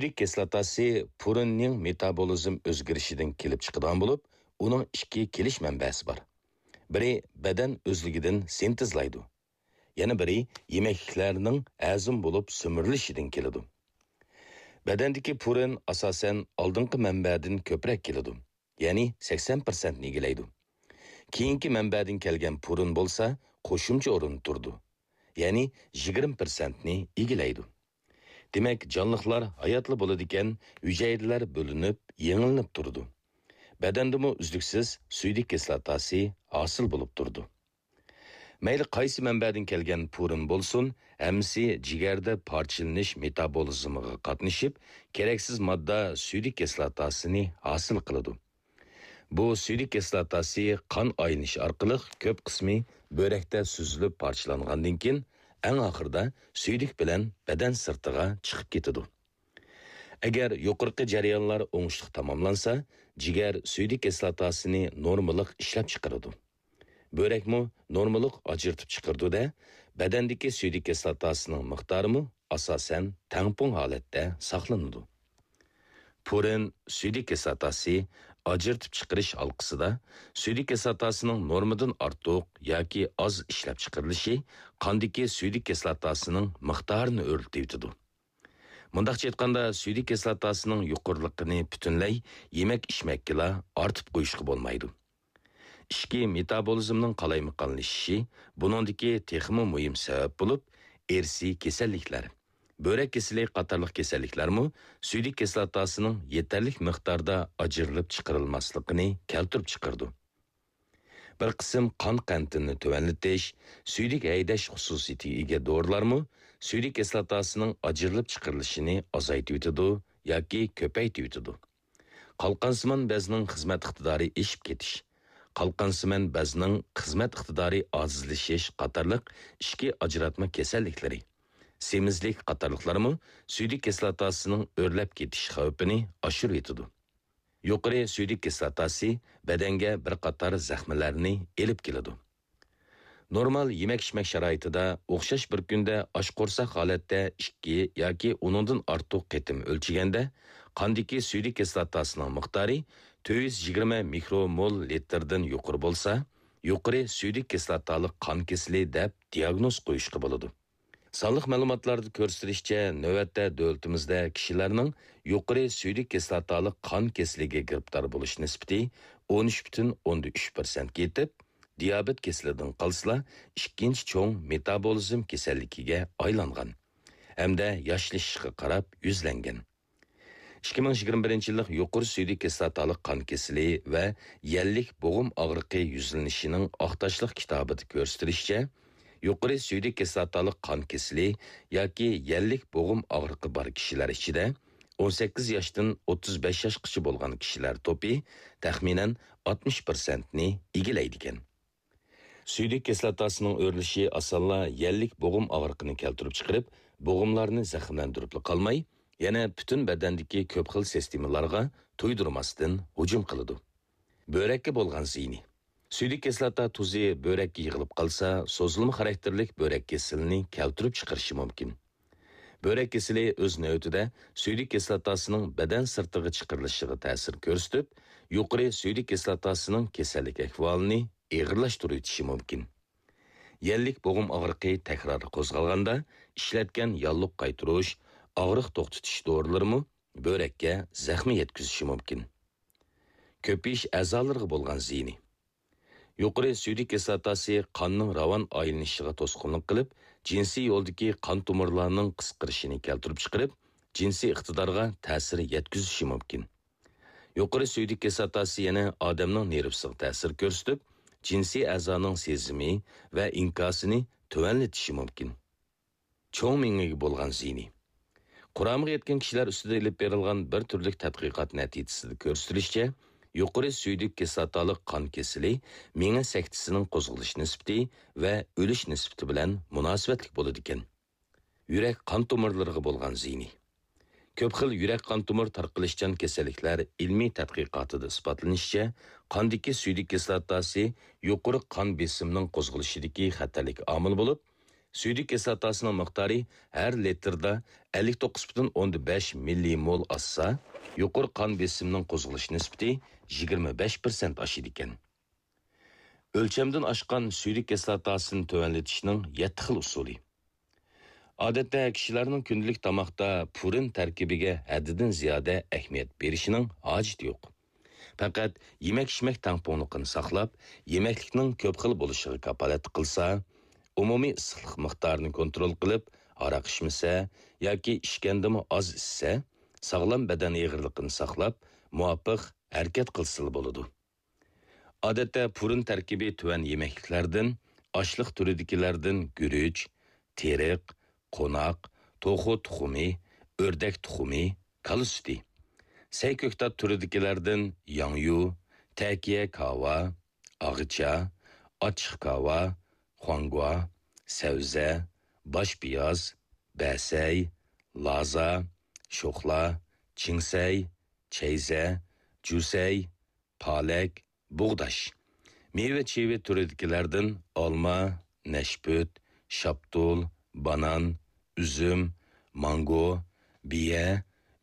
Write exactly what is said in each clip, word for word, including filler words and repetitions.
سۈيدۈك كىسلاتاسى پۇرىننىڭ مېتابولىزم ئۆزگىرىشىدىن كېلىپ چىقىدىغان بولۇپ، ئۇنىڭ ئىككى كېلىش مەنبەسى بار. بىرى بەدەن ئۆزلۈكىدىن سىنتېزلايدۇ. يەنە بىرى يېمەكلىكلەرنىڭ ھەزىم بولۇپ سۈمۈرۈلۈشىدىن كېلىدۇ. بەدەندىكى پۇرىن ئاساسەن ئالدىنقى مەنبەدىن كۆپرەك كېلىدۇ، يەنى سەكسەن پىرسەنتنى ئىگىلەيدۇ. كېيىنكى مەنبەدىن كەلگەن پۇرىن بولسا قوشۇمچە ئورۇندا تۇرىدۇ، يەنى يىگىرمە پىرسەنتنى ئىگىلەيدۇ. دېمەك، جانلىقلار ھاياتلا بولىدىكەن، ھۈجەيرىلەر بۆلۈنۈپ، يېڭىلىنىپ تۇرىدۇ. بەدەندىمۇ ئۈزلۈكسىز سۈيدۈك كىسلاتاسى ھاسىل بولۇپ تۇرىدۇ. مەيلى قايسى مەنبەدىن كەلگەن پۇرىن بولسۇن، ھەممىسى جىگەردە پارچىلىنىش مېتابولىزمىغا قاتنىشىپ، كېرەكسىز ماددا سۈيدۈك كىسلاتاسىنى ھاسىل قىلىدۇ. بۇ سۈيدۈك كىسلاتاسى قان ئايلىنىشى ئارقىلىق كۆپ قىسمى بۆرەكتە سۈزۈلۈپ پارچىلانغاندىن كېيىن، ئەڭ ئاخىرىدا سۈيدۈك بىلەن بەدەن سىرتىغا چىقىپ كېتىدۇ. ئەگەر يۇقىرىقى جەريانلار ئوڭۇشلۇق تاماملانسا، جىگەر سۈيدۈك كىسلاتاسىنى نورمىلىق ئىشلەپچىقىرىدۇ. بۆرەكمۇ نورمىلىق ئاجرىتىپ چىقىرىدۇ-دە، بەدەندىكى سۈيدۈك كىسلاتاسىنىڭ مىقدارىمۇ ئاساسەن تەڭپۇڭ ھالەتتە ساقلىنىدۇ. پۇرىن سۈيدۈك كىسلاتاسى ئاجرىتىپ چىقىرىش ھالقىسىدا سۈيدۈك كىسلاتاسىنىڭ نورمىدىن ئارتۇق ياكى ئاز ئىشلەپچىقىرىلىشى قاندىكى سۈيدۈك كىسلاتاسىنىڭ مىقدارىنى ئۆرلىتىۋېتىدۇ. مۇنداقچە ئېيتقاندا، سۈيدۈك كىسلاتاسىنىڭ يۇقىرىلىقىنى پۈتۈنلەي يېمەك-ئىچمەككىلا ئارتىپ قويۇشقا بولمايدۇ. ئىچكى مېتابولىزمنىڭ قالايمىقانلىشىشى بۇنىڭدىكى تېخىمۇ مۇھىم سەۋەب بولۇپ، ئىرسىي كېسەللىكلەر، بۆرەك كېسىلى قاتارلىق كېسەللىكلەرمۇ سۈيدۈك كىسلاتاسىنىڭ يېتەرلىك مىقداردا ئاجرىلىپ چىقىرىلماسلىقىنى كەلتۈرۈپ چىقىرىدۇ. بىر قىسىم قان قەنتىنى تۆۋەنلىتىش، سۈيدۈك ھەيدەش خۇسۇسىيىتىگە ئىگە دورىلارمۇ سۈيدۈك كىسلاتاسىنىڭ ئاجرىلىپ چىقىرىلىشىنى ئازايتىۋېتىدۇ ياكى كۆپەيتىۋېتىدۇ. قالقانسىمان بەزنىڭ خىزمەت ئىقتىدارى ئېشىپ كېتىش، قالقانسىمان بەزنىڭ خىزمەت ئىقتىدارى ئاجىزلىشىش قاتارلىق ئىچكى ئاجراتما كېسەللىكلىرى، سېمىزلىك قاتارلىقلارمۇ سۈيدۈك كىسلاتاسىنىڭ ئۆرلەپ كېتىش خەۋپىنى ئاشۇرۇۋېتىدۇ. يۇقىرى سۈيدۈك كىسلاتاسى بەدەنگە بىر قاتار زەخمىلەرنى ئېلىپ كېلىدۇ. نورمال يېمەك-ئىچمەك شارائىتىدا ئوخشاش بىر كۈندە ئاچ قورساق ھالەتتە ئىككى ياكى ئۇنىڭدىن ئارتۇق قېتىم ئۆلچىگەندە، قاندىكى سۈيدۈك كىسلاتاسىنىڭ مىقدارى تۆت يۈز يىگىرمە مىكرومول لىتىردىن يۇقىرى بولسا، يۇقىرى سۈيدۈك كىسلاتالىق قان كېسىلى دەپ دىئاگنوز قويۇشقا بولىدۇ. سانلىق مەلۇماتلاردا كۆرسىتىلىشىچە، نۆۋەتتە دۆلىتىمىزدە كىشىلەرنىڭ يۇقىرى سۈيدۈك كىسلاتالىق قان كېسىلىگە گىرىپتار بولۇش نىسبىتى ئون ئۈچ پۈتۈن ئوندىن ئۈچ پىرسەنتكە يېتىپ، دىيابېت كېسىلىدىن قالسىلا، ئىككىنچى چوڭ مېتابولىزم كېسەللىكىگە ئايلانغان ھەمدە ياشلىشىشقا قاراپ يۈزلەنگەن. ئىككى مىڭ يىگىرمە بىرىنچى يىللىق يۇقىرى سۈيدۈك كىسلاتالىق قان كېسىلى ۋە يەللىك بوغۇم ئاغرىقى يۈزلىنىشىنىڭ ئاق تاشلىق كىتابىدا كۆرسىتىلىشىچە، يۇقىرى سۈيدۈك كىسلاتالىق قان كېسىلى ياكى يەللىك بوغۇم ئاغرىقى بار كىشىلەر ئىچىدە ئون سەككىز ياشتىن ئوتتۇز بەش ياشقىچە بولغان كىشىلەر توپى تەخمىنەن ئاتمىش پىرسەنتنى ئىگىلەيدىكەن. سۈيدۈك كىسلاتاسىنىڭ ئۆرلىشى ئاسانلا يەللىك بوغۇم ئاغرىقىنى كەلتۈرۈپ چىقىرىپ، بوغۇملارنى زەخىملەندۈرۈپلا قالماي، يەنە پۈتۈن بەدەندىكى كۆپ خىل سىستېمىلارغا تۇيدۇرماستىن ھۇجۇم قىلىدۇ. بۆرەككە بولغان زىيىنى. سۈيدۈك كىسلاتا تۇزى بۆرەككە يىغىلىپ قالسا، سوزۇلما خاراكتېرلىك بۆرەك كېسىلىنى كەلتۈرۈپ چىقىرىشى مۇمكىن. بۆرەك كېسىلى ئۆز نۆۋىتىدە سۈيدۈك كىسلاتاسىنىڭ بەدەن سىرتىغا چىقىرىلىشىغا تەسىر كۆرسىتىپ، يۇقىرى سۈيدۈك كىسلاتاسىنىڭ كېسەللىك ئەھۋالىنى ئېغىرلاشتۇرۇۋېتىشى مۇمكىن. يەللىك بوغۇم ئاغرىقى تەكرار قوزغالغاندا، ئىشلەتكەن ياللۇغ قايتۇرۇش، ئاغرىق توختىتىش دورىلىرىمۇ بۆرەككە زەخمە يەتكۈزۈشى مۇمكىن. كۆپىيىش ئەزالىرىغا بولغان زىيىنى. يۇقىرى سۈيدۈك كىسلاتاسى قاننىڭ راۋان ئايلىنىشىغا توسقۇنلۇق قىلىپ، جىنسىي يولدىكى قان تومۇرلارنىڭ قىسقىرىشىنى كەلتۈرۈپ چىقىرىپ، جىنسىي ئىقتىدارغا تەسىر يەتكۈزۈشى مۇمكىن. يۇقىرى سۈيدۈك كىسلاتاسى يەنە ئادەمنىڭ نېرۋىسىغا تەسىر كۆرسىتىپ، جىنسىي ئەزانىڭ سېزىمى ۋە ئىنكاسىنى تۆۋەنلىتىشى مۇمكىن. چوڭ مېڭىگە بولغان زىيىنى. قۇرامىغا يەتكەن كىشىلەر ئۈستىدە ئېلىپ بېرىلغان بىر تۈرلۈك تەتقىقات نەتىجىسىدە كۆرسىتىلىشىچە، يۇقىرى سۈيدۈك كىسلاتالىق قان كېسىلى مېڭە سەكتىسىنىڭ قوزغىلىش نىسبىتى ۋە ئۆلۈش نىسبىتى بىلەن مۇناسىۋەتلىك بولىدىكەن. يۈرەك قان تومۇرلىرىغا بولغان زىيىنى. كۆپ خىل يۈرەك قان تومۇر تارقىلىشچان كېسەللىكلەر ئىلمىي تەتقىقاتىدا ئىسپاتلىنىشىچە، قاندىكى سۈيدۈك كىسلاتاسى يۇقىرى قان بېسىمىنىڭ قوزغىلىشىدىكى خەتەرلىك ئامىل بولۇپ، سۈيدۈك كىسلاتاسىنىڭ مىقدارى ھەر لىتىردا ئەللىك توققۇز پۈتۈن ئوندىن بەش مىللىمول ئاشسا، يۇقىرى قان بېسىمىنىڭ قوزغىلىش نىسبىتى يىگىرمە بەش پىرسەنت ئاشىدىكەن. ئۆلچەمدىن ئاشقان سۈيدۈك كىسلاتاسىنى تۆۋەنلىتىشنىڭ يەتتە خىل ئۇسۇلى. ئادەتتە كىشىلەرنىڭ كۈندىلىك تاماقتا پۇرىن تەركىبىگە ھەددىدىن زىيادە ئەھمىيەت بېرىشنىڭ ھاجىتى يوق. پەقەت يېمەك-ئىچمەك تەڭپۇڭلۇقىنى ساقلاپ، يېمەكلىكنىڭ كۆپ خىل بولۇشىغا كاپالەتلىك قىلسا، ئومۇمىي ئىسسىقلىق مىقدارىنى كونترول قىلىپ، ھاراق ئىچمىسە ياكى ئىچكەندىمۇ ئاز ئىچسە، ساغلام بەدەن ئېغىرلىقىنى ساقلاپ، مۇۋاپىق ھەرىكەت قىلسىلا بولىدۇ. ئادەتتە پۇرىن تەركىبى تۆۋەن يېمەكلىكلەردىن، ئاشلىق تۈرىدىكىلەردىن گۈرۈچ، تېرىق، قوناق، توخۇ تۇخۇمى، ئۆردەك تۇخۇمى، كالا سۈتى. سەي كۆكتات تۈرىدىكىلەردىن ياڭيۇ، تەكىيە كاۋا، ئاغىچا، ئاچچىق كاۋا، خۇاڭگۇا، سەۋزە، باش پىياز، بەسەي، لازا، شوخلا، چىڭسەي، چەيزە، جۈسەي، پالەك، بۇغداش. مېۋە-چېۋە تۈرىدىكىلەردىن ئالما، نەشپۈت، شاپتۇل، بانان، ئۈزۈم، مانگو، بىيە،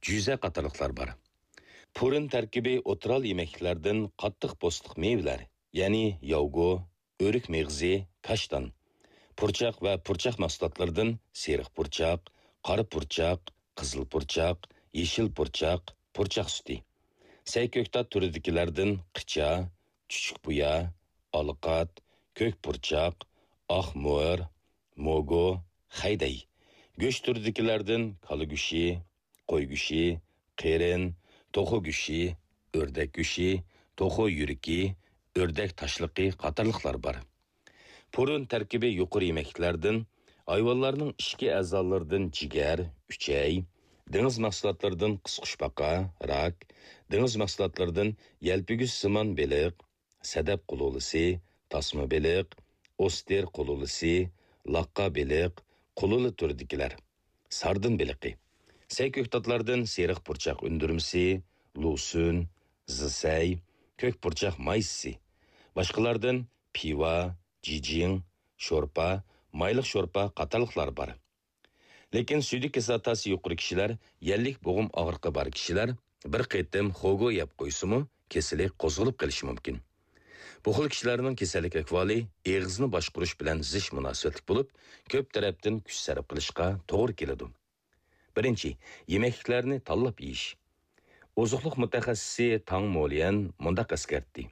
جۈزە قاتارلىقلار بار. پۇرىن تەركىبى ئوتتۇرا ھال يېمەكلىكلەردىن قاتتىق پوستلۇق مېۋىلەر، يەنى ياۋگو، ئۆرۈك مېغىزى، كاشتان. پۇرچاق ۋە پۇرچاق مەھسۇلاتلىرىدىن سېرىق پۇرچاق، قارا پۇرچاق، قىزىل پۇرچاق، يېشىل پۇرچاق، پۇرچاق سۈتى. سەي كۆكتات تۈرىدىكىلەردىن قىچا، چۈچۈك بۇيا، ئالىقات، كۆك پۇرچاق، ئاق مۆر، موگو، خەيدەي. گۆش تۈرىدىكىلەردىن كالا گۆشى، قوي گۆشى، قېرىن، توخۇ گۆشى، ئۆردەك گۆشى، توخۇ يۈرىكى، ئۆردەك تاشلىقى قاتارلىقلار بار. پۇرىن تەركىبى يۇقىرى يېمەكلىكلەردىن، ھايۋانلارنىڭ ئىچكى ئەزالىرىدىن جىگەر، ئۈچەي، دېڭىز مەھسۇلاتلىرىدىن قىسقۇچپاقا، راك، دېڭىز مەھسۇلاتلىرىدىن يەلپۈگۈچسىمان بېلىق، سەدەپ قۇلۇلىسى، تاسما بېلىق، ئوستېر قۇلۇلىسى، لاققا بېلىق، قۇلۇلە تۈرىدىكىلەر، ساردىن بېلىقى. سەي كۆكتاتلاردىن سېرىق پۇرچاق ئۈندۈرمىسى، لۇسۈن، زىسەي، كۆك پۇرچاق مايسىسى. باشقىلاردىن پىۋا، جىجىڭ، شورپا، مايلىق شورپا قاتارلىقلار بار. لېكىن سۈيدۈك كىسلاتاسى يۇقىرى كىشىلەر، يەللىك بوغۇم ئاغرىقى بار كىشىلەر بىر قېتىم خوگو يەپ قويسىمۇ، كېسىلى قوزغىلىپ قېلىشى مۇمكىن. بۇ خىل كىشىلەرنىڭ كېسەللىك ئەھۋالى ئېغىزنى باشقۇرۇش بىلەن زىچ مۇناسىۋەتلىك بولۇپ، كۆپ تەرەپتىن كۈچ سەرپ قىلىشقا توغرا كېلىدۇ. بىرىنچى، يېمەكلىكلەرنى تاللاپ يېيىش. ئوزۇقلۇق مۇتەخەسسىسى تاڭ موليەن مۇنداق ئەسكەرتتى: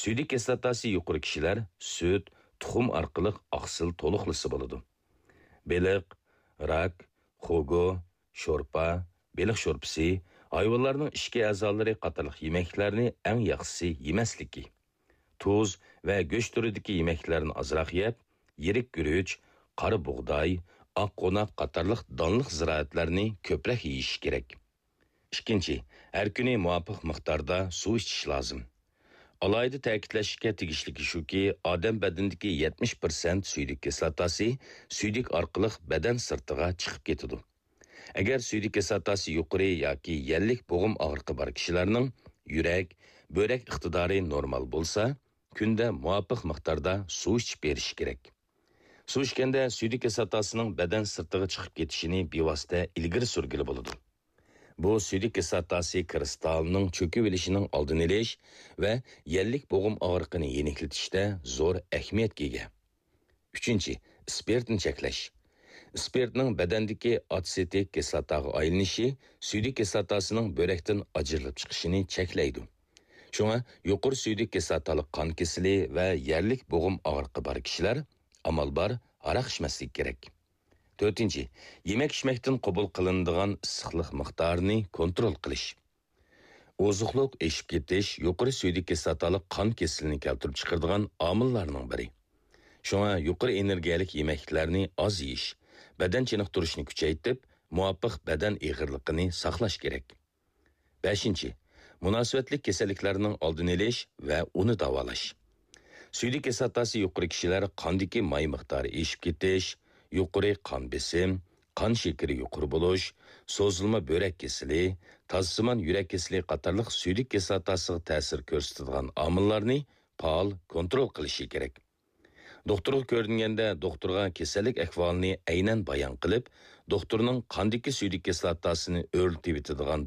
سۈيدۈك كىسلاتاسى يۇقىرى كىشىلەر سۈت، تۇخۇم ئارقىلىق ئاقسىل تولۇقلىسا بولىدۇ. بېلىق، راك، خوگو، شورپا، بېلىق شورپىسى، ھايۋانلارنىڭ ئىچكى ئەزالىرى قاتارلىق يېمەكلىكلەرنى ئەڭ ياخشىسى يېمەسلىكى. تۇز ۋە گۆش تۈرىدىكى يېمەكلىكلەرنى ئازراق يەپ، يىرىك گۈرۈچ، قارا بۇغداي، ئاق قوناق قاتارلىق دانلىق زىرائەتلەرنى كۆپرەك يېيىش كېرەك. ئىككىنچى، ھەر كۈنى مۇۋاپىق مىقداردا سۇ ئىچىش لازىم. ئالاھىدە تەكىتلەشكە تېگىشلىكى شۇكى، ئادەم بەدىنىدىكى يەتمىش پىرسەنت سۈيدۈك كىسلاتاسى سۈيدۈك ئارقىلىق بەدەن سىرتىغا چىقىپ كېتىدۇ. ئەگەر سۈيدۈك كىسلاتاسى يۇقىرى ياكى يەللىك بوغۇم ئاغرىقى بار كىشىلەرنىڭ يۈرەك، بۆرەك ئىقتىدارى نورمال بولسا، كۈندە مۇۋاپىق مىقداردا سۇ ئىچىپ بېرىشى كېرەك. سۇ ئىچكەندە سۈيدۈك كىسلاتاسىنىڭ بەدەن سىرتىغا چىقىپ كېتىشىنى بىۋاسىتە ئىلگىرى سۈرگىلى بولىدۇ. بۇ سۈيدۈك كىسلاتاسى كىرىستالىنىڭ چۆكۈۋېلىشىنىڭ ئالدىنى ئېلىش ۋە يەللىك بوغۇم ئاغرىقىنى يېنىكلىتىشتە زور ئەھمىيەتكە ئىگە. ئۈچىنچى، ئىسپىرتنى چەكلەش. ئىسپىرتنىڭ بەدەندىكى ئاتسېتىك كىسلاتاغا ئايلىنىشى سۈيدۈك كىسلاتاسىنىڭ بۆرەكتىن ئاجرىلىپ چىقىشىنى چەكلەيدۇ. شۇڭا يۇقىرى سۈيدۈك كىسلاتالىق قان كېسىلى ۋە يەللىك بوغۇم ئاغرىقى بار كىشىلەر ئامال بار ھاراق ئىچمەسلىكى كېرەك. تۆتىنچى، يېمەك-ئىچمەكتىن قوبۇل قىلىنىدىغان ئىسسىقلىق مىقدارىنى كونترول قىلىش. ئوزۇقلۇق ئېشىپ كېتىش يۇقىرى سۈيدۈك كىسلاتالىق قان كېسىلىنى كەلتۈرۈپ چىقىرىدىغان ئامىللارنىڭ بىرى. شۇڭا يۇقىرى ئېنېرگىيەلىك يېمەكلىكلەرنى ئاز يېيىش، بەدەن چېنىقتۇرۇشنى كۈچەيتىپ، مۇۋاپىق بەدەن ئېغىرلىقىنى ساقلاش كېرەك. بەشىنچى، مۇناسىۋەتلىك كېسەللىكلەرنىڭ ئالدىنى ئېلىش ۋە ئۇنى داۋالاش. سۈيدۈك كىسلاتاسى يۇقىرى كىشىلەر قاندىكى ماي مىقدارى ئېشىپ كېتىش، يۇقىرى قان بېسىم، قان شېكىرى يۇقىرى بولۇش، سوزۇلما بۆرەك كېسىلى، تازىسىمان يۈرەك كېسىلى قاتارلىق سۈيدۈك كىسلاتاسىغا تەسىر كۆرسىتىدىغان ئامىللارنى پائال كونترول قىلىشى كېرەك. دوختۇرغا كۆرۈنگەندە، دوختۇرغا كېسەللىك ئەھۋالىنى ئەينەن بايان قىلىپ، دوختۇرنىڭ قاندىكى سۈيدۈك كىسلاتاسىنى ئۆرلىتىۋېتىدىغان